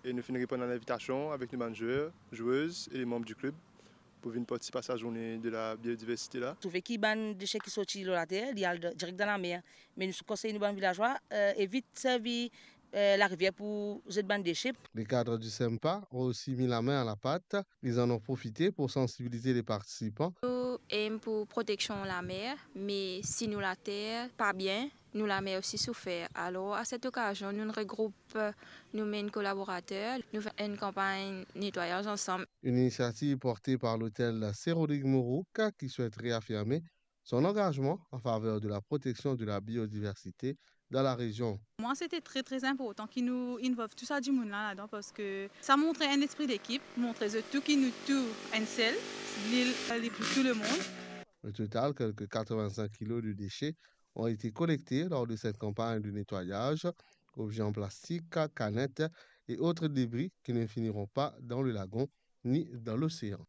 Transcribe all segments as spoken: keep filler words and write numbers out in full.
E nou finn reponn a linvitasion avek nou bann zwer, zwez e le manb di klib pou vinn partisip a sa zourne de la biodiversite la. Trouve ki bann dese ki sorti lor later, li al direk dan lamer. Me nou konsey nou bann vilazwa, eh, evit servi, eh, larivier pou zet bann dese. Les cadres du SEMPA ont aussi mis la main à la pâte. Ils en ont profité pour sensibiliser les participants. Nou aim pou proteksion lamer, me si nou later pa bien, nou lamer osi soufer. Alor, a set okazion, nou regroup nou mem kolaborater, nou fer enn kanpagn netwayaz ansam. Une initiative portée par l'hôtel Sir Rodrigue Mourouk qui souhaite réaffirmer son engagement en faveur de la protection de la biodiversité dans la région. Mwa, sete tre, tre inportan ki nou involve tou sa dimoun la ladan, parski sa montre enn lespri dekip, montre zot tou ki nou tou enn sel, lil li pou tou lemond. Au total, quelques quatre-vingt-cinq kilos de déchets ont été collectés lors de cette campagne de nettoyage. Objets en plastique, canettes et autres débris qui ne finiront pas dans le lagon ni dans l'océan.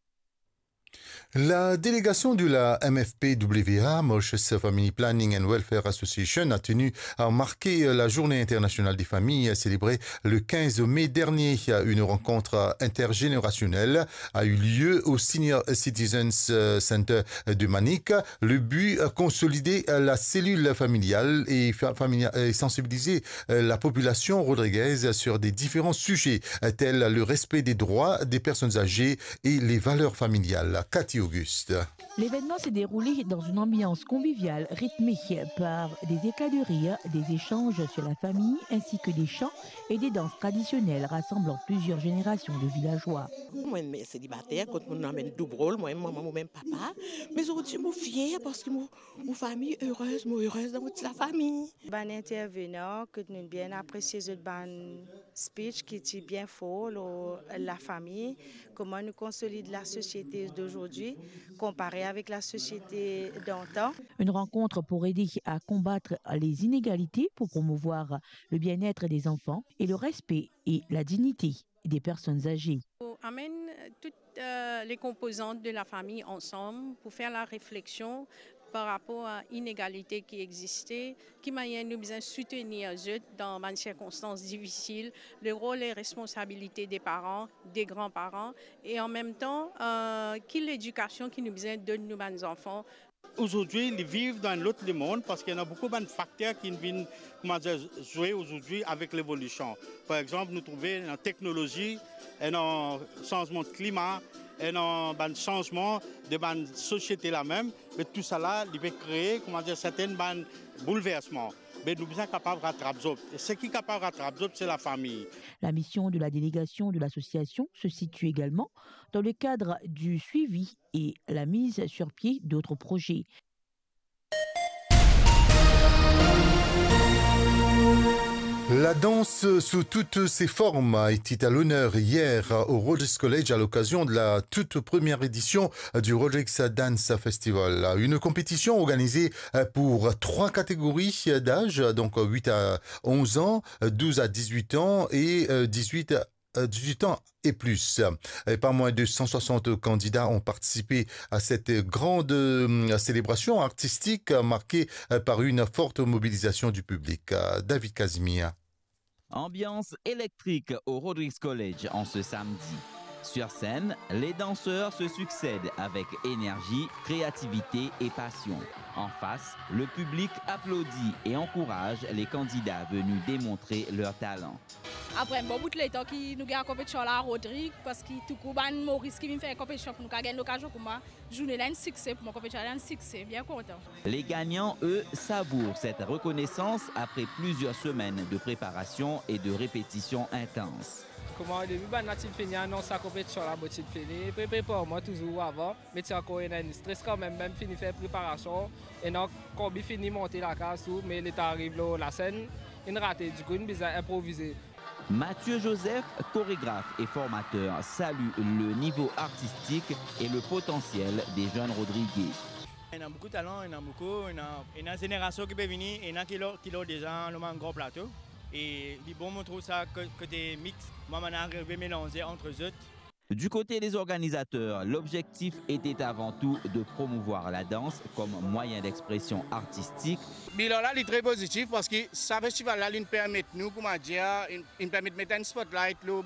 La délégation de la M F P W A, Mauritius Family Planning and Welfare Association, a tenu à marquer la Journée internationale des familles célébrée le quinze mai dernier. Une rencontre intergénérationnelle a eu lieu au Senior Citizens, euh, Center de Manic. Le but, euh, consolider, euh, la cellule familiale et fa-, familia-, et sensibiliser, euh, la population rodriguaise sur des différents sujets, euh, tels le respect des droits des personnes âgées et les valeurs familiales. Cathy Auguste. L'événement s'est déroulé dans une ambiance conviviale rythmée par des éclats de rire, des échanges sur la famille ainsi que des chants et des danses traditionnelles rassemblant plusieurs générations de villageois. Mwa, mem selibater, kot mo amenn doub rol, mwa, mama, mo mem papa. Me zordi mo fier parski mo, mo fami erez, mo erez dan mo ti lafami. Bann intervenan, kot nou bien apresie zot bann speech ki ti bien for lor lafami, kouma nou konsolid lasosiete d'aujourd'hui konpare avek lasosiete d'antan. Une rencontre pour aider à combattre les inégalités, pour promouvoir le bien-être des enfants et le respect et la dignité des personnes âgées. Pou amenn tout, euh, les composantes de la famille ensemble pour faire la réflexion par rapport à inegalite ki existe, ki manier nou bizin soutenir zot dan bann sirkonstans difisil, le rol e responsabilite de paran, de granparan, e an mem tan, euh, ki ledikasion ki nou bizin donn nou bann zanfan. Azordi, li viv dan enn lot lemond parski ena boukou bann fakter ki vinn, kouma dir, zwe azordi avek levolision. Par exanp, nou trouve ena teknolozi, ena sanzman klima, ena bann sanzman de bann sosiete la mem, me tousala, li pe kree, kouma dir, sertenn bann boulversman. Me nou bizin kapav ratrap zot. E seki kapav ratrap zot, se lafami. La mission de la délégation de l'association se situe également dans le cadre du suivi et la mise sur pied d'autres projets. La danse sous toutes ses formes était à l'honneur hier au Rodrigues College à l'occasion de la toute première édition du Rodrigues Dance Festival. Une compétition organisée pour trois catégories d'âge, donc huit à onze ans, douze à dix-huit ans et dix-huit euh, dix-huit ans et plus. Et pas moins de cent soixante candidats ont participé à cette grande, euh, célébration artistique marquée, euh, par une forte mobilisation du public. Euh, David Casimir. Ambiance électrique au Rodrigues College en ce samedi. Sur scène, les danseurs se succèdent avec énergie, créativité et passion. En face, le public applaudit et encourage les candidats venus démontrer leur talent. Apre enn bon bout letan ki nou gagn konpetision la Rodrigues, parski touzour bann Moris ki vinn fer konpetision pou nou kapav gagn lokazion kouma, zourne la enn sikse pou mwa, konpetision la enn sikse, bien kontan. Les gagnants, eux, savourent cette reconnaissance après plusieurs semaines de préparation et de répétitions intenses. Kouma o debi bann la ti fini anons sa konpetision la, mo ti fini pre-, prepar mwa touzour avan. Me ti ankor ena enn stres kanmem, mem fini fer preparasion, ena konbi fini monte lakaz tou, me letan ariv lor lasenn, inn rate, dikou inn bizin inprovize. Mathieu Joseph, chorégraphe et formateur, salue le niveau artistique et le potentiel des jeunes Rodriguais. Ena boukou talan, ena boukou, ena, ena zenerasion ki pe vini, ena ki lor, ki lor deza lor bann gran plato. E li bon, mo trouv sa ko-, kote mix, mwa bann arive melanze ant zot. Du côté des organisateurs, l'objectif était avant tout de promouvoir la danse comme moyen d'expression artistique. Bilan la, li tre pozitif parski sa festival la, li permet nou, kouma dir, li, li permet met enn spotlight lor bann